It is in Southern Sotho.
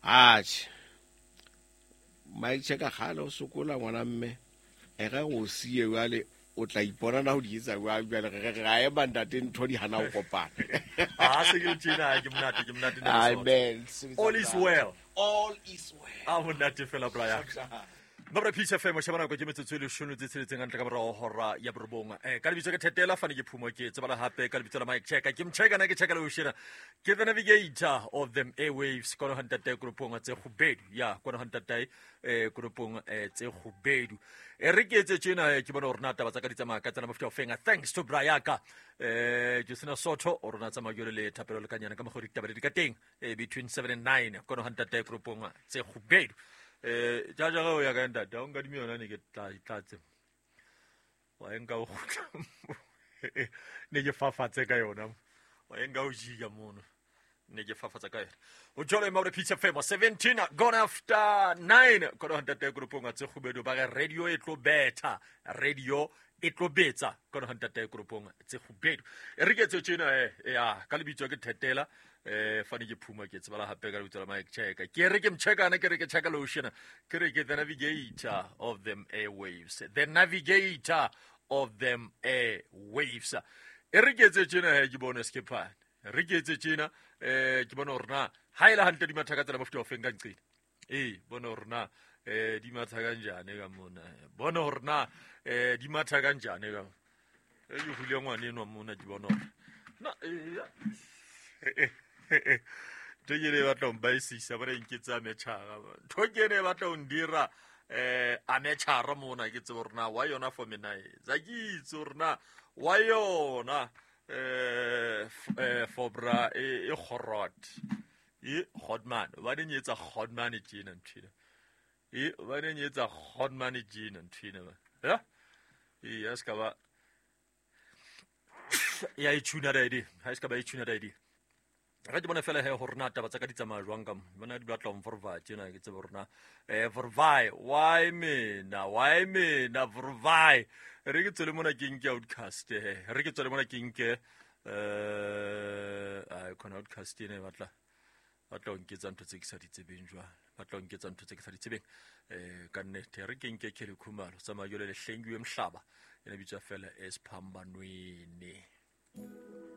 Atjhe, Mike Cheka kgale o sokola ngwana mme e ge go siye jwale o tla ipona na go di etsa jwang jwale re re ra ema ntate ntho di hana go kopana. A se ke tjena ke monate, ke monate. Amen. All is well. All is well. A monate fela Brian. Mabra Peace FM sheba nako ke metsotso e leshome tse tsheletseng hantle ka morao hora ya borobong. Ka lebitso ke Thetela fane ke Phumo ke tsebala hape ka lebitso la Mike Cheka. Ke mcheka na ke cheka le oshena. Ke the navigator of them airwaves kono hantate koropong tse kgubedu. Ya kono hantate koropong tse kgubedu. E re ke etse tjena ke bona hore na taba tsa ka di tsamaya ka tsena mofuta ofeng. Thanks to Brayaka. Josina Soto o rona tsamaya jwale le thapelo le kanyana ka mokgwa ditaba di ka teng. Between 7 and 9 kono hantate koropong tse kgubedu. Ja ja o ya ka ntate o nkadime yona ne ke tla tlatse wa enka o kgutla ne ke fafatse ka yona wa enka o jika mono ne ke fafatsa ka yona o jolo maure Peace FM 17 gone after 9 kono ntate koropong tse kgubedu ba re radio e tlo betha radio e tlo betsa kono ntate koropong tse kgubedu e re ke tse tjena ya ka lebitso ke Thetela fane ke Phuma ke tsebala hape ka lebitso la Mike Cheka ke re ke mchekana ke re ke cheka lotion ke re ke the navigator of them airwaves, the navigator of them airwaves. E re ke etse tjena he ke bone skephane re ke etse tjena ke bone hore na ha ile hantle di matha ka tsela mofuta ofeng ka nqena bone hore na di matha ka njane ka mona bone hore na di matha ka njane ka ke hule ngwane enwa mona ke bone hore na ntho ke ne e batla ho mbaisisa ba re nketsa ametšhara ntho ke ne e batla ho ndira ametšhara mona ke tsebe hore na wa yona for me na tsa ke itse hore na wa yona for bra e kgorot e godman ba ne etsa godman tjena ntho ena e ba ne etsa godman tjena ntho ena ya e ya ska ba ya e tuna ready ha ska ba e tuna ready re ke bone fela he gore na taba tsa ka di tsamaya jwang ka mo bona di batla mforva tjena ke tsebe gore na vorvai why mina why mina vorvai re ke tswele mona ke nke outcast re ke tswele mona ke nke ai khona outcast ene batla batla ho nketsa ntho tse ke sa di tsebeng jwale batla ho nketsa ntho tse ke sa di tsebeng ka nnete re ke nke Kelly Khumalo tsamaya jwale le hlengiwe mhlaba ene bitswa fela esiphambanweni.